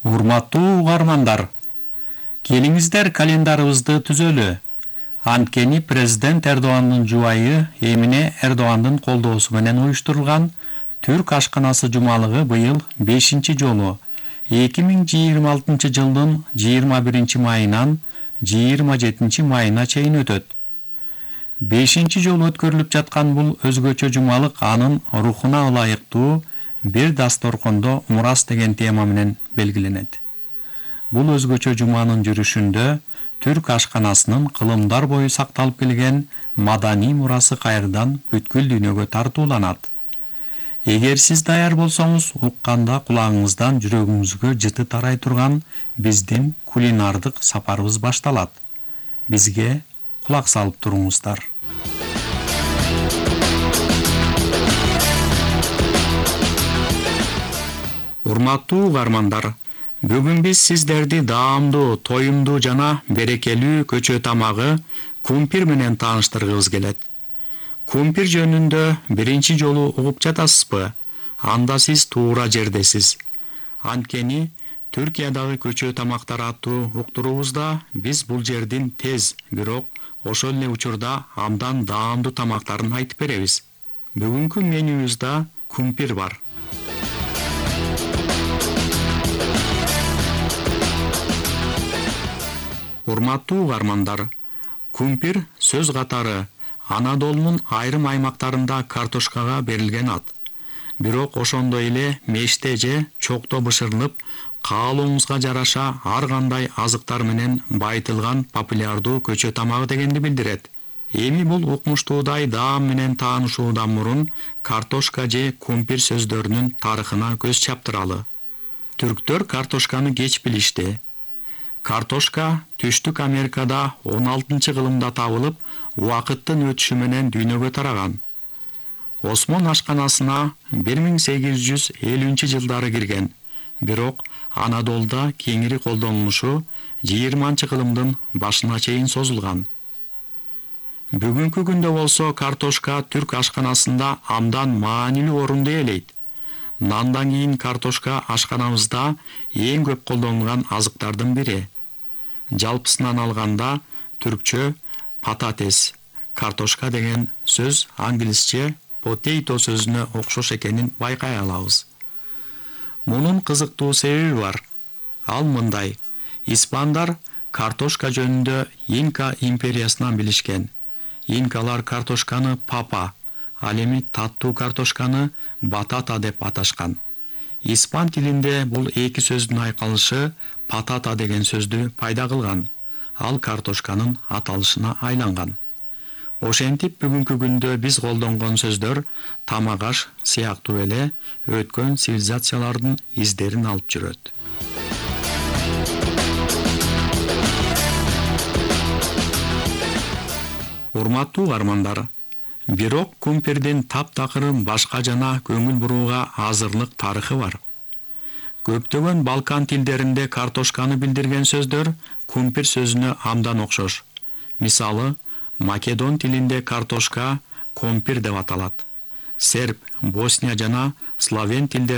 Урматтуу угармандар, келиңиздер календарыбызды түзөлү. Анткени президент Эрдогандын жубайы Эмине Эрдогандын колдоосу менен уюштурулган Түрк ашканасы жумалыгы быйыл 5-чи жолу 2026 жылдын 21 майынан 27 майына чейин өтөт. 5-чи жолу өткөрүлүп жаткан бул өзгөчө жумалык анын рухуна ылайыктуу бир дасторкондо мурас деген тема менен белгиленет. Бул өзгөчө жуманын жүрүшүндө Түрк ашканасынын кылымдар бою сакталып келген маданий мурасы кайрадан бүткүл дүйнөгө тартууланат. Эгер сиз даяр болсоңуз, укканда кулагыңыздан жүрөгүңүзгө жыты тарай турган биздин кулинардык сапарыбыз башталат. Бизге кулак салып туруңуздар. Урматтуу угармандар, бүгүн биз сиздерди даамдуу, тоюмдуу жана берекелүү көчө тамагы кумпир менен тааныштыргыбыз келет. Кумпир жөнүндө биринчи жолу угуп жатасызбы? Анда сиз туура жердесиз. Анткени Түркиядагы көчө тамактар аттуу уктуруубузда биз бул жердин тез, бирок ошол эле учурда абдан даамдуу тамактарын айтып беребиз. Бүгүнкү менюбузда кумпир бар. Урматтуу угармандар, кумпир сөз катары Анадолунун айрым аймактарында картошкага берилген ат. Бирок ошондой эле меште же чокто бышырылып, каалооңузга жараша ар кандай азыктар менен байытылган популярдуу көчө тамагы дегенди билдирет. Эми бул укмуштуудай даам менен таанышуудан мурун картошка же кумпир сөздөрүнүн тарыхына көз чаптыралы. Түрктөр картошканы кеч билишти. Картошка Түштүк Америкада 16-кылымда табылып, убакыттын өтүшү менен дүйнөгө тараган. Осмон ашканасына 1850-жылдары кирген, бирок Анадолда кеңири колдонулушу 20-кылымдын башына чейин созулган. Бүгүнкү күндө болсо картошка түрк ашканасында абдан маанилүү орунду ээлейт. Нандан кийин картошка ашканабызда эң көп колдонулган азыктардын бири. Жалпысынан алганда түркчө пататес, картошка деген сөз англисче potato сөзүнө окшош экенин байкай алабыз. Мунун кызыктуу себеби бар. Ал мындай: испандар картошка жөнүндө Инка империясынан билишкен. Инкалар картошканы папа, ал эми таттуу картошканы батата деп аташкан. Испан тилинде бул эки сөздүн айкалышы патата деген сөздү пайда кылган. Ал картошканын аталышына айланган. Ошентип бүгүнкү күндө биз колдонгон сөздөр тамак аш сыяктуу эле өткөн цивилизациялардын издерин алып жүрөт. Урматтуу угармандар, бирок кумпирдин таптакыр башка жана көңүл бурууга азырлык тарыхы бар. Көптөгөн Балкан тилдеринде картошканы билдирген сөздөр кумпир сөзүнө абдан окшош. Мисалы, Македон тилинде картошка компир деп аталат. Серб, Босния жана Словен тилдеринде